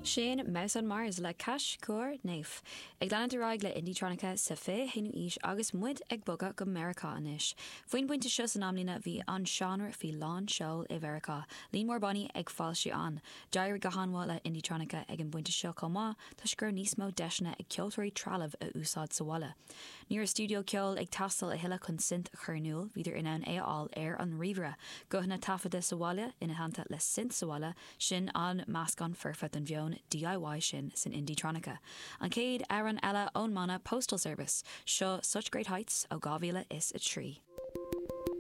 Sin Mouse on Mars le Cache Coeur Neuf. Ag leanúint ar aghaidh le Indietronica sa 21ú aois agus muid ag bogadh go Meiriceá anois. Faoin bpointe seo san amlíne bhí an seánra faoi lán seoil i Mheiriceá, líon mór bannaí ag foilsiú ann. D'éirigh go han-mhaith le Indietronica ag an bpointe seo chomh maith toisc go raibh níos mó deiseanna ag ceoltóirí trealamh a úsáid sa bhaile. Ní raibh stiúideo ceoil ag teastáil a thuilleadh chun synth a chur in iúl, bhíodar in ann é a fháil ar an ríomhaire. Guthanna taifeadta sa bhaile, ina theannta le synth sa bhaile, Sin an meascán foirfe don mheon DIY sin san Indietronica. An chéad amhrán eile ón mbanna Postal Service, seo Such Great Heights ó 2003.